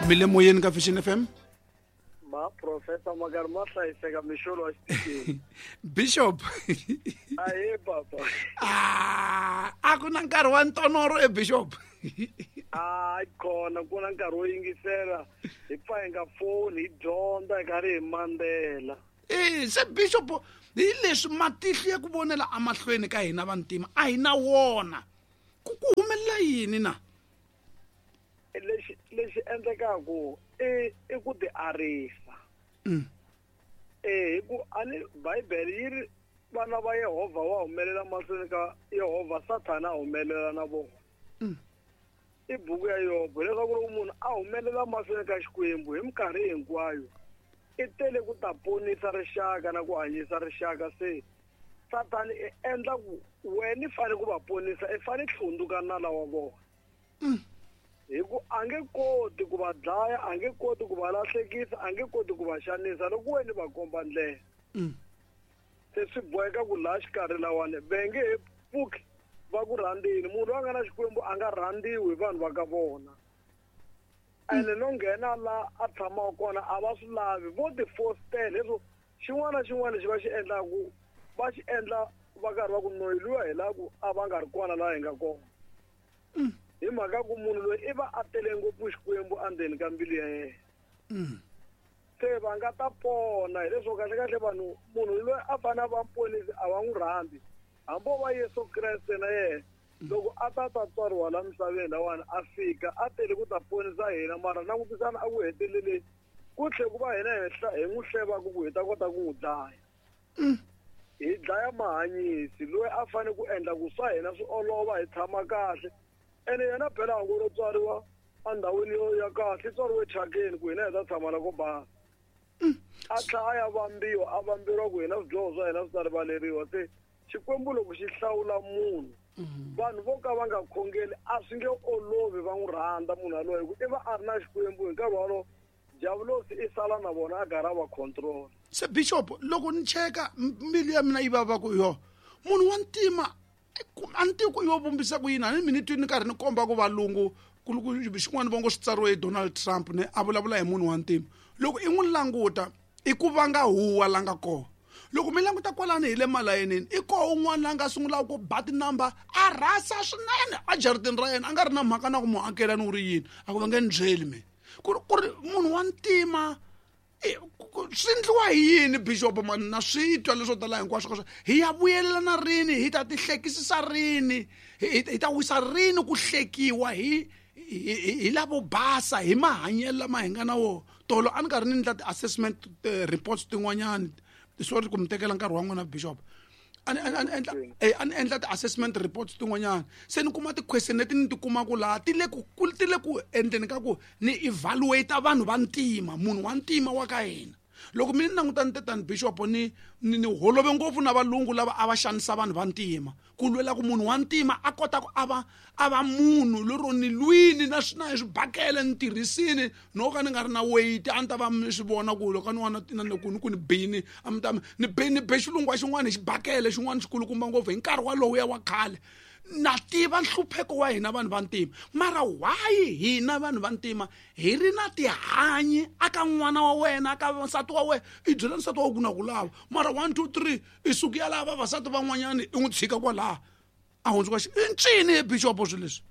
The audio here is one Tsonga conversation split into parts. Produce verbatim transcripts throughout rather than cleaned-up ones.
Mi le moyeni ka Vision F M. Ma professor Magar ma hlayiseka mixolo wa xitikini. Bishop. Ahe papa. Ah, a ku na nkarhi wa ntonoro e Bishop. Ah, kona ku na nkarhi wo yingisela hi pfa hi nga foni hi dyondza hi karhi hi mandzela. Eh, se Bishop hi leswi matihlo ya ku vonela amahlweni ka hina vantima a hi na wona. Ku ku humelela yini na? Lexi lexi endlekaku i i ku ti arisa. Mm. Eh, hi ku ani Bibele yi ri vana va Yehovha wa humelela mahlweni ka Yehovha, Sathana a humelela na vona. Mm. I buku ya Yobo leswaku loko munhu a humelela mahlweni ka Xikwembu hi minkarhi hinkwayo i tele ku ta ponisa rixaka na ku hanyisa rixaka. Se Sathana i endla ku wena i fanele ku va ponisa, i fanele hlundzuka nala wa vona. Mm. Hi ku a nge koti ku va dlaya, a nge koti ku va lahlekisa, a nge koti ku va xanisa loko wena va komba ndlela. Mm. Se swi boheka ku laha xikarhi lawani va nge he pfuki va ku rhandzini. Munhu loyi a nga na Xikwembu a nga rhandziwi hi vanhu va ka vona. Ene no nghena la a tshamaka kona a va swi lavi, vo ti fostela leswo xin'wana na xin'wana lexi va xi endlaku va xi endla va karhi va ku noyi luya hi la ku a va nga ri kona laha hi nga kona. Mm. Hi mhaka ku munhu loyi i va a tele ngopfu Xikwembu endzeni ka mbilu ya yena. Mm. Se va nga ta pona hileswo kahle kahle vanhu munhu loyi a fanele a va muponisi a va n'wi rhandzi. Hambi o va Yesu Kreste na yena loko a ta ta tswariwa la misaveni lawani a fika a tele ku ta ponisa hina, mara langutisana a ku heteleleni ku tlhe ku va hina hi n'wi hlevaka ku hi ta kota ku n'wi dlaya. Mm. Hi dlaya mahanyisi loyi a fanele ku endla ku swa hina swi olova hi tshama kahle. Ene yena phela a ngo ro tswariwa endhawini yo ya kahle, i tswariwe thyakeni ku hina hi ta tshama la ko basa. A tlhela a ya vambiwa, a vamberiwa ku hina swidyoho swa hina swi ta rivaleriwa. Se Xikwembu loko xi hlawula munhu, vanhu vo ka va nga khongeli a swi nge olovi va n'wi rhandza munhu yaloye, hi ku i va a ri na Xikwembu hi nkarhi wolowo diavulosi i sala na vona a karhi a va control. Se Bishop, loko ni cheka mbilu ya mina yi vava ku yo munhu wa ntima a ni tivi ku yo vumbisa ku yini, a ni mi ni twi ni karhi ni komba ku valungu ku xin'wana va ngo swi tsariwe hi Donald Trump ne a vulavula hi munhu wa ntima. Loko i n'wi languta i ku vanga huwa la nga kona. Loko mi languta kwalani hi le malayinini i koho un'wana la nga sungulaka ku ba tinamba a rhasa swinene a jaratini ra yena, a nga ri na mhaka na ku muakelani u ri yini, a ku va nge ni byeli mina ku ri ku ri munhu wa ntima swi endliwa hi yini Bishop mani na swi twa leswo tala hinkwaswo ka swona. Hi ya vuyelelana rini, hi ta ti hlekisisa rini, hi ta wisa rini ku hlekiwa hi hi lavo basa hi mahanyelo lama hi nga na wona. Tolo a ni karhi ni endla ti-assessment reports tin'wanyani, sorry ku mi tekela nkarhi wa n'wina Bishop, a ni a ni endla a ni endla ti-assessment reports tin'wanyani, se ni kuma ti-question leti ni ti kumaka laha ti le ku ti le ku endleni ka ku ni evaluate vanhu va ntima, munhu wa ntima wa ka hina. Loko mi ni languta ni tetani Bishop ni ni ni holove ngopfu na valungu lava a va xanisa vanhu va ntima ku lwela ku munhu wa ntima a kota ku a va a va munhu lero ni lwini na swi na hi swibakele ni tirhisini no ka ni nga ri na weight a ni ta va mi swi vona ku loko ni wana na ku ni ku ni bini a mi ta ni be ni be xilungu wa xin'wana hi xibakele xin'wana xikulukumba ngopfu hi nkarhi walowu ya wa khale. Na tiva nhlupheko wa hina vanhu va ntima, mara why hina vanhu va ntima hi ri na tihanyi aka n'wana wa wena aka nsati wa wena i byela nsati wa ku na ku lava mara one two three i suki ya lava vavasati van'wanyani i n'wi tshika kwalaha a hundzuka xi i ncini he Bishop swilo leswi?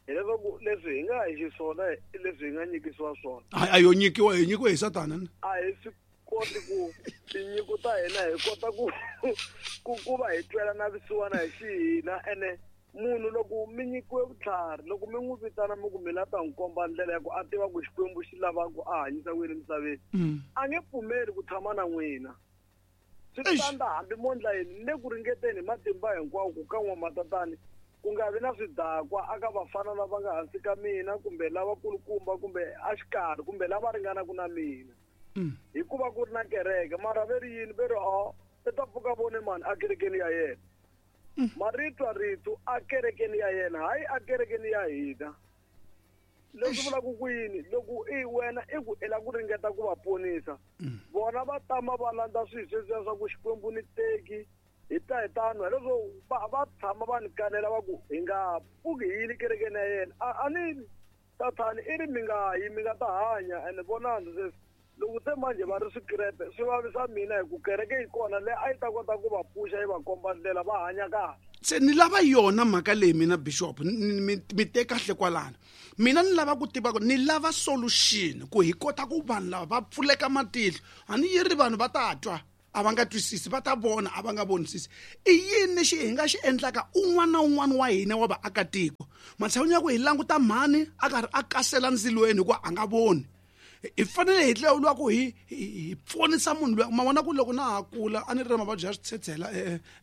Hileswaku leswi hi nga hi xiswona leswi hi nga nyikisiwa swona a yo nyikiwa hi nyikiwe hi Satana ni a hi swi koti ku tinyiko ta hina hi kota ku ku ku va hi twela na vusiwana hi xihina. Ene munhu loko mi nyikiwe vutlhari, loko mi n'wi vitana mi ku mi la ta n'wi komba ndlela ya ku a tiva ku Xikwembu xi lava ku a hanyisa ku yini emisaveni, a nge pfumeli ku tshama na n'wina. Swi tanda hambi mo ndla yini, ni le ku ringeteni hi matimba hinkwawo ku ka n'wamatatani ku nga vi na swidakwa aka vafana lava nga hansi ka mina kumbe lavakulukumba kumbe exikarhi kumbe lava ringanaka na mina. Hikuva ku ri na kereke mara ve ri yini ve ri a i ta pfuka vone mani a kerekeni ya yena. Marito rito a kerekeni ya yena hayi a kerekeni ya hina. Leswi vulaka ku yini loko i wena i ku i lava ku ringeta ku va ponisa vona va tama va landza swilo sweswiya swa ku Xikwembu ni teki hi ta hi tano hileswo va va tshama va ni kanela va ku hi nga pfuki hi yile kerekeni ya yena. A a ni Sathani i ri mi nga yi mi nga ta hanya ene vonani sweswi loko se manje va ri swikerepe swi vavisa mina hi ku kereke yi kona leyi a yi ta kota ku va pfuxa yi va komba ndlela va hanya kahle. Se ni lava yona mhaka leyi mina bishop mi mi te kahle kwalano. Mina ni lava ku tiva ku ni lava solution ku hi kota ku vanhu lava va pfuleka matihlo. A ni yi ri vanhu va ta twa a va nga twisisi, va ta vona a va nga vonisisi. I yini lexi hi nga xi endlaka un'wana na un'wana wa hina wa vaakatiko? Matshan'wini ya ku hi languta mhani a karhi a kasela ndzilweni hikuva a nga voni, hi fanele hi tlhela ku hi hi pfunisa munhu loyi. Ma vona ku loko na ha kula a ni ri na mavabyi ya switshetshela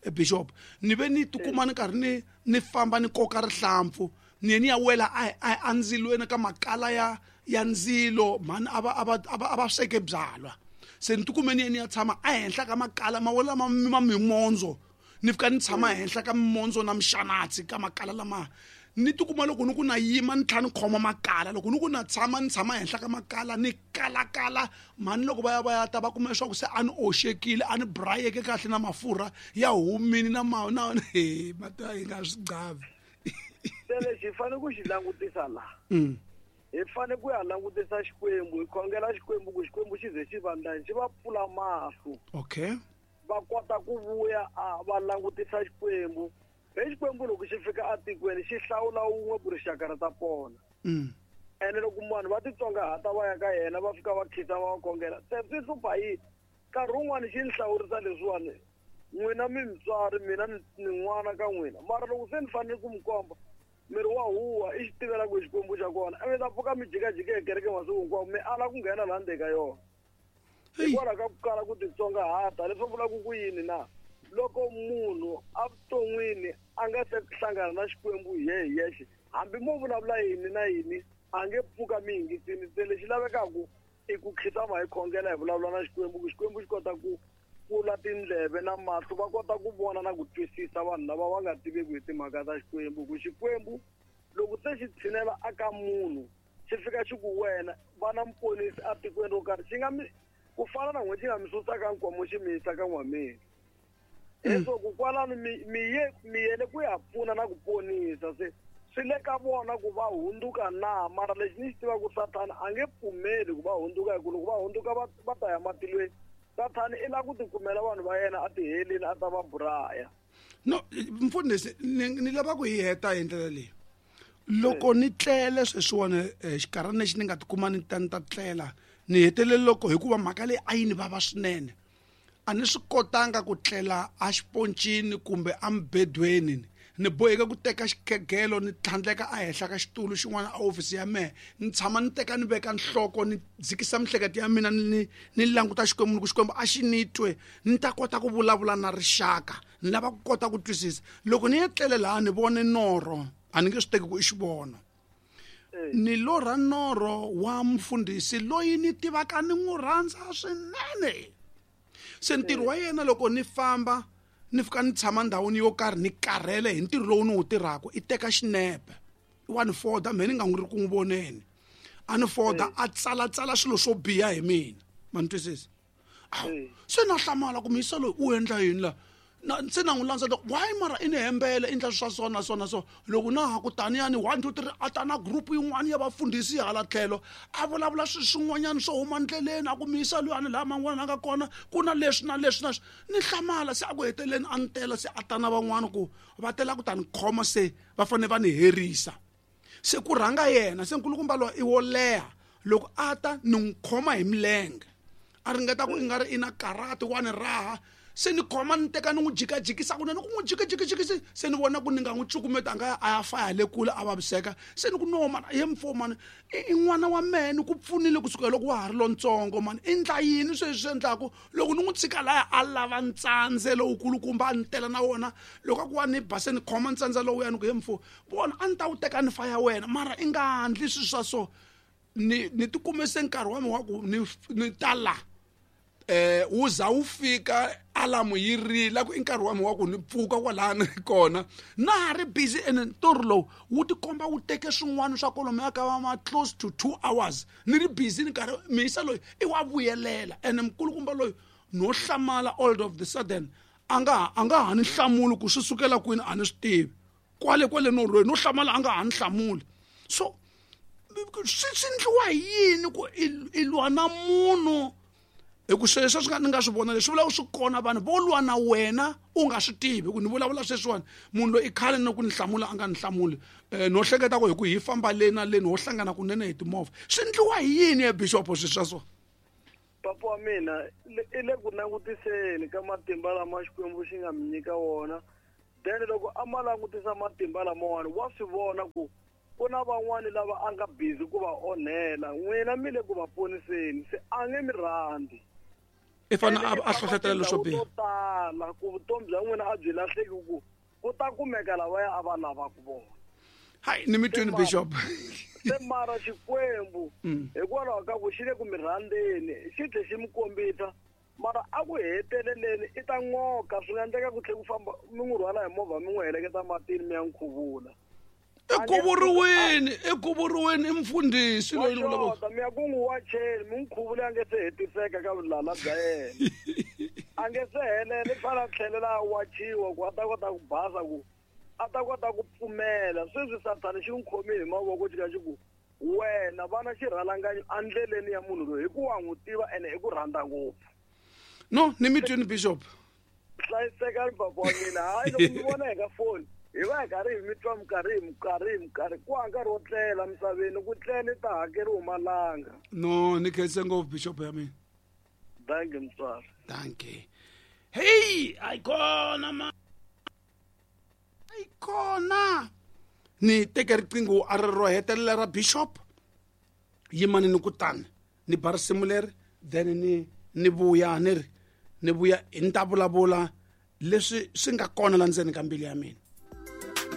e bishop, ni ve ni tikuma ni karhi ni ni famba ni koka rihlampfu ni ye ni ya wela a a ndzilweni ka makala ya ya ndzilo. Mhani a va a va a va a va sweke byalwa, se ni tikume ni ye ni ya tshama ehenhla ka makala ma wela ma ma mimondzo, ni fika ni tshama ehenhla ka mimondzo na mixanatsi ka makala lama. Ni tikuma loko ni ku na yima ni tlhela ni khoma makala, loko ni ku na tshama ni tshama ehenhla ka makala ni kalakala. Mhani loko va ya va ya ta va kuma leswaku se a ni oxekile, a ni brayeke kahle na mafurha ya humini na ma na he mata yi nga swi qavi. Se lexi hi fanele ku xi langutisa laha, Mm. hi fanele ku ya langutisa Xikwembu, hi khongela Xikwembu ku Xikwembu xi ze xi va ndlani, xi va pfula mahlo. Okay. Va kota ku vuya a va langutisa Xikwembu. Hi Xikwembu loko xi fika atikweni xi hlawula wun'we ku rixaka ri ta pona. Mm. Ene loko vanhu va titsongahata va ya ka yena va fika va khisa va va khongela, se swi hlupha yini? Nkarhi wun'wani xi ni hlawurisa leswiwani, n'wina mi mutswari, mina ni ni n'wana ka n'wina, mara loko se ni fanele ku mi komba miri wa huwa i xi tivela ku Xikwembu xa kona, mi ta pfuka mi jikajika hi kereke masiku hinkwawo mi ala ku nghena laha ndzeni ka yona. Hikwalaho ka ku kala ku titsongahata. Leswi vulaka ku yini na? Loko munhu evuton'wini a nga se hlangana na Xikwembu hi yehe hi yexe, hambi mo vulavula yini na yini a nge pfuka mi yingisini. Se lexi lavekaka i ku khitama hi khongela hi vulavula na Xikwembu ku Xikwembu xi kota ku pfula tindleve na mahlo, va kota ku vona na ku twisisa vanhu lava va nga tiveki hi timhaka ta Xikwembu. Ku Xikwembu loko se xi tshinela aka munhu xi fika xi ku wena va na muponisi atikweni ro karhi, xi nga mi ku fana na n'we xi nga mi susa ka nkomo xi mi yisa ka n'wameni. Leswaku kwalano mi mi ye mi yele ku ya pfuna na ku ponisa, se swi le ka vona ku va hundzuka na. Mara lexi ni xi tivaka ku Sathana a nge pfumeli ku va hundzuka, hi ku loko va hundzuka va va ta ya matilweni. Sathana i lava ku tikumela vanhu va yena a tiheleni a ta va buraya. No mfundhisi, ni ni lava ku hi heta hi ndlela leyi. Loko ni tlele sweswiwani xikarhana lexi ni nga tikuma ni ta ni ta tlela, ni hetelele loko hikuva mhaka leyi a yi ni vava swinene, a ni swi kotanga ku tlela a xiponcini kumbe emubedweni. Ni boheke ku teka xikhegelo ni tlhandleka ehenhla ka xitulu xin'wana a ofisi ya mehe, ni tshama ni teka ni veka nhloko ni dzikisa miehleketo ya mina ni ni languta Xikwembu, ni ku Xikwembu a xi ni twe ni ta kota ku vulavula na rixaka, ni lava ku kota ku twisisa. Loko ni ya tlele laha ni vone norho, a ni nge swi teki ku i xivono, ni lorha norho wa mfundhisi loyi ni tivaka ni n'wi rhandza swinene. Se ntirho wa yena loko ni famba ni fika ni tshama ndhawini yo karhi ni karhele hi ntirho lowu ni wu tirhaka, i teka xinepe wa ni foda, mehe ni nga n'wi ri ku n'wi voneni, a ni foda a tsalatsala swilo swo biha hi mina. Ma ni twisisa? Awu, se na hlamala ku muyisa loyi u endla yini la? Na se na n'wi landza why mara i ni hembele i endla swa so na so na so. Loko na ha ku taniyani one two three a ta na group yin'wana ya vafundhisi hala tlhelo a vulavula swilo swin'wanyana swo huma ndleleni, a ku muyisa luyani laha man'wana a nga kona ku na leswi na leswi na leswi. Ni hlamala se a ku heteleleni a ni tela se a ta na van'wana ku va tela ku ta ni khoma, se va fanele va ni herisa. Se ku rhanga yena, se nkulukumba loyi i wo leha, loko a ta ni n'wi khoma hi milenge a ringeta ku i nga ri i na karate wa ni raha, se ni khoma ni teka ni n'wi jikajikisa kunene, ku n'wi jikajikijikisi, se ni vona ku ni nga n'wi cukumeta a nga ya a ya faya le kule a vaviseka. Se ni ku no mani, ye mfo mani, i n'wana wa mehe, ni ku pfunile kusukela loko wa ha ri lontsongo mani, i ndla yini sweswi swi endlaku loko ni n'wi tshika laya a lava ntsandze lowukulukumba a ni tela na wona, loko a ku wa ni ba se ni khoma ntsandze lowuya ni ku ye mfo vona a ni ta wu teka ni faya wena, mara i nga ndli swilo swa so. Ni ni tikume se nkarhi wa mina wa ku ni ni ta la eh wu za wu fika alamu yi rila ku i nkarhi wa mina wa ku ni pfuka kwalani kona, na ha ri busy. Ene ntirho lowu wu tikomba wu teke swin'wana swa kwalomuya ka va ma close to two hours ni ri busy ni karhi muyisa loyi i wa vuyelela. Ene mukulukumba loyi no hlamala all of the sudden a nga a nga ha ni hlamuli ku swi sukela kwini a ni swi tivi, kwale kwale norhweni no hlamala a nga ha ni hlamuli. So Swi swi endliwa hi yini ku i lwa na munhu hi ku sweswo swi nga ni nga swi vona leswi vulaka swi kona vanhu vo lwa na wena u nga swi tivi ku ni vulavula sweswiwani munhu loyi i khale ni ku ni hlamula a nga ni hlamuli um no hleketa ku hi ku hi famba le na leni ho hlangana kunene hi timovha swi endliwa hi yini ya bixopo swi swa so papa wa mina i le ku langutiseni ka matimba lama Xikwembu xi nga mi nyika wona then loko a ma langutisa matimba lamawani wa swi vona ku ku na van'wani lava a nga busy ku va onhela n'wina mi le ku va poniseni se a nge mi rhandzi i fanele a hlohletela leswo biha tala ku vutomi bya n'wina a byi lahleki ku ku ta kumeka lavaya a va lavaka vona hayi ni mi twini bishop se mara Xikwembu hikwalaho ka ku xi le ku mi rhandzeni xi tlhe xi mi kombisa mara a ku heteleleni i ta n'oka swi nga endleka ku tlhe ku famba mi n'wi rhwala hi movha mi n'wi heleketa matini mi ya n'wi khuvula i khuvuriwini i khuvuriwini i mfundhisi loyi ni vulavula mi ya ku n'wi wacheni mi n'wi khuvula a nge se hetiseka ka vulala bya yena a nge se helela i fanele a tlhelela a wachiwa ku a ta kota ku basa ku a ta kota ku pfumela sweswi Sathana xi n'wi khomile hi mavoko xi ka xi ku wena vana xirhalanganyi endleleni ya munhu loyi hi ku wa n'wi tiva ene i ku rhandza ngopfu no ni mi twini bishop hlayisekani papa wa mina hayi loko mi vona hi ka foni hi va hi karhi hi mi twa minkarhi hi minkarhi hi minkarhi ku ha nkarhi wo tlela misaveni ku tlela i ta hakeriwi malanga no ni khense ngopfu bishop ya mina thank you mutswari thank you hey ayikona ma ayikona ni teke riqingho a ri ro hetelela ra bishop yimani ni kutani ni ba risimu leri then ni ni vuya ni ri ni vuya ni ta vulavula leswi swi nga kona la ndzeni ka mbilu ya mina.